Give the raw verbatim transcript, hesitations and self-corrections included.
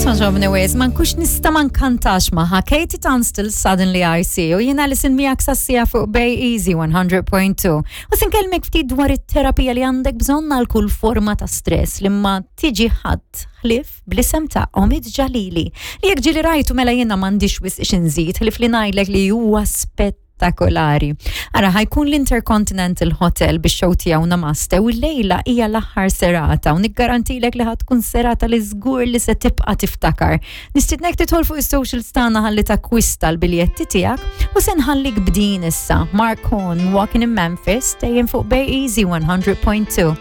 Togħġobni wisq, ma nkunx nista' ma nkantax magħha. Katie Tunstall, "Suddenly I See", u jiena li sin miegħek sassija fuq Bay Easy one hundred point two. U se nkellmek ftit dwar it-terapija li għandek bżonn għal kull forma ta' stress li ma tiġi ħadd ħlief bl-isem ta' Omid Jalili. Li jekk ġieli rajtu, mela jiena m'għandix wisq x'inżid, ħlief li ngħidlek li huwa spettakolari. Ara, ħa jkun l-Intercontinental Hotel biex show tiegħu Namaste u l-lejla hija l-aħħar serata u niggarantilek li ħa tkun serata li żgur li se tibqa' tiftakar. Nistidnek tidħol fuq is-socials tagħna ħalli takkwista l-biljetti tiegħek u se nħallik b'din issa. Mark Horn, "Walking in Memphis", dejjem fuq Bay Easy one hundred point two.